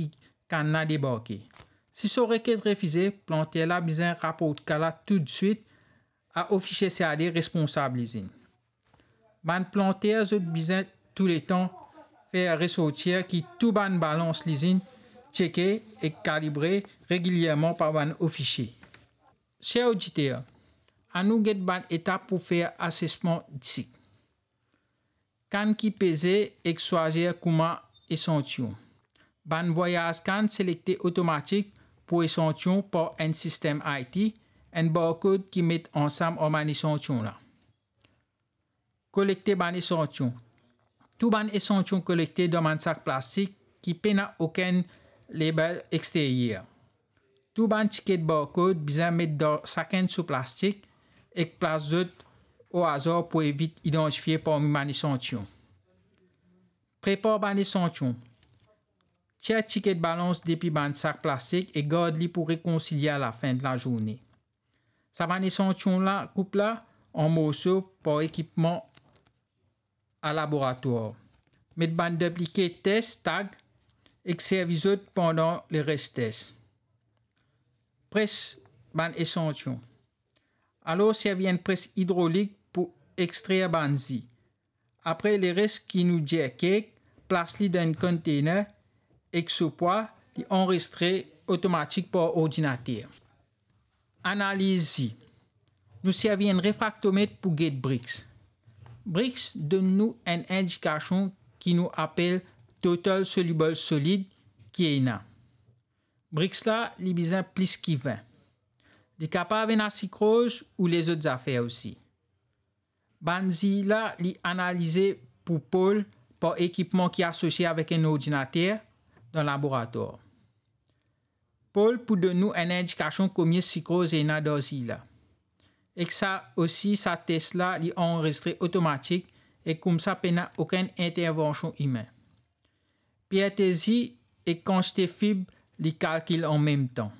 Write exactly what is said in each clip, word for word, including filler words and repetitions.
ki kann la debarke. Si so rekert refize, planter la bizin raport ka la toutswit a ofisie C A D responsab lizinn. Bann planter, zot bizin touletan fer resortir ki tou bann balans lizinn tcheke ek kalibre regilierman par bann ofisie. Ser oditer, anou get bann etap pou fer asesman disik. Kann ki peze ek swazir kouma esantiyon. Bann vwayaz kann selekte otomatik pou esantiyon par enn sistem I T, enn barkod ki met ansam ar bann esantiyon la. Kolekte bann esantiyon. Tou bann esantiyon kolekte dan bann sak plastik ki pena okenn label exteryer. Tou bann tiket barkod bizin met dan sakenn so plastik ek plas zot o azar pou evit idantifie parmi bann esantiyon. Prepar bann esantiyon. Tir tiket balans depi bann sak plastik e gard li pou rekonsilie a lafin de lazourne. Sa bann esantiyon la, koup la an morso par ekipman a laboratwar. Met bann diplike tes tag ek servi zot pandan leres tes. Pres bann esantiyon. Alor servi enn pres idrolik pou extrer bann zi. Apre leres ki nou dir kek, plas li dan enn konteyner ek so pwa, li anrezistre otomatik par ordinater. Analiz zi. Nou servi enn refraktomet pou get Brix. Brix donn nou enn indikasion ki nou apel total soluble solid ki ena. Brix la, li bizin plis ki vin. Li kapav ena sikroz ou lezot zafer osi. Bann zi la, li analize pou pol par ekipman ki asosie avek enn ordinater dan laboratwar. Pol pou donn nou enn indikasion komie sikroz ena dan zi la. Ek sa osi, sa tes la, li anrezistre otomatik e koumsa pena okenn intervansion imin. Pirte zi ek kantite fib, li kalkil anmemtan.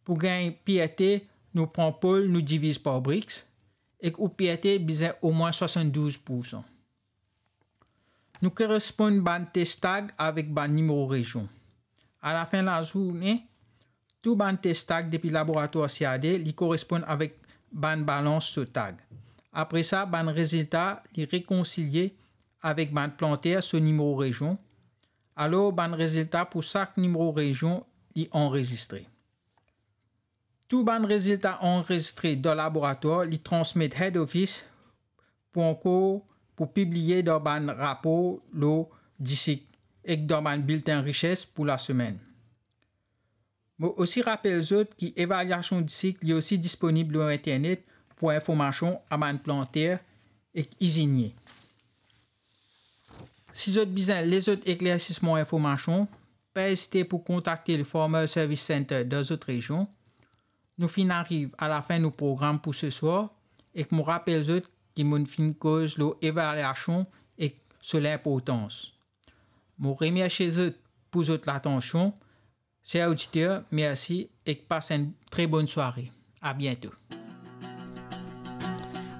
Pou gagn pirte, nou pran pol, nou diviz par Brix, ek ou pirte bizin omwin swasanndouz poursan. Nou koresponn bann tes tag avek bann nimero rezion. Alafin lazourne, tou bann tes tag depi laboratwar C A D, li koresponn avek bann balans so tag. Apre sa, bann rezilta, li rekonsilie avek bann planter so nimero rezion. Alor, bann rezilta pou sak nimero rezion, li anrezistre. Tou bann rezilta anrezistre dan laboratwar, li transmet head office pou ankor pou pibliye dan bann rapor lor disik ek dan bann biltin rises pou lasemenn. Mo osi rapel zot ki evaliasion disik li osi disponib lor internet pou informasion a bann planter ek izinie. Si zot bizin lezot eklersisman, informasion, pa ezite pou kontakte le Farmer Service Center dan zot rezion. Nou finn ariv alafin nou program pou seswar, ek mo rapel zot ki mo finn koz lor evaliasion ek so linportans. Mo remersie zot pou zot latansion. Ser oditer, mersi ek pas enn tre bonn sware. A biento.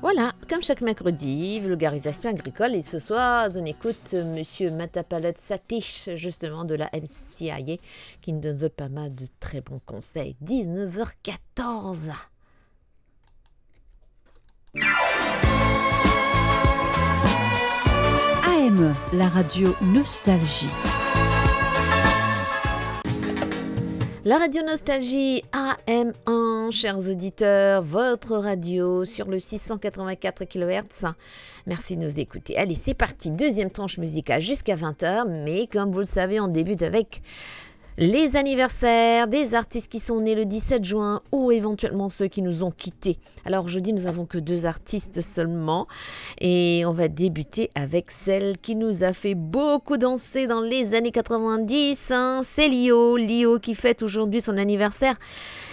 Voilà, comme chaque mercredi, vulgarisation agricole. Et ce soir, on écoute Monsieur Matapalot Satish, justement de la M C I A, qui nous donne pas mal de très bons conseils. Dix-neuf heures quatorze. A M, la radio Nostalgie. La radio Nostalgie A M un, chers auditeurs, votre radio sur le six cent quatre-vingt-quatre kilohertz. Merci de nous écouter. Allez, c'est parti, deuxième tranche musicale jusqu'à vingt heures, mais comme vous le savez, on débute avec les anniversaires des artistes qui sont nés le dix-sept juin ou éventuellement ceux qui nous ont quittés. Alors aujourd'hui, nous avons que deux artistes seulement et on va débuter avec celle qui nous a fait beaucoup danser dans les années quatre-vingt-dix, hein. C'est Lio, Lio qui fête aujourd'hui son anniversaire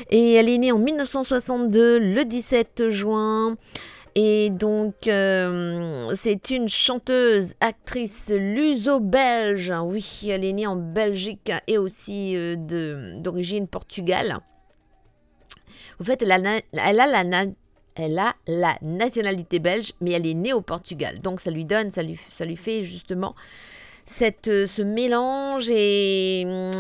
et elle est née en mille neuf cent soixante-deux, le dix-sept juin. Et donc, euh, c'est une chanteuse, actrice luso-belge. Oui, elle est née en Belgique et aussi, euh, de, d'origine portugale. Au fait, elle a, na- elle a la na- elle a la nationalité belge, mais elle est née au Portugal. Donc, ça lui donne, ça lui, ça lui fait justement cette, euh, ce mélange et, euh,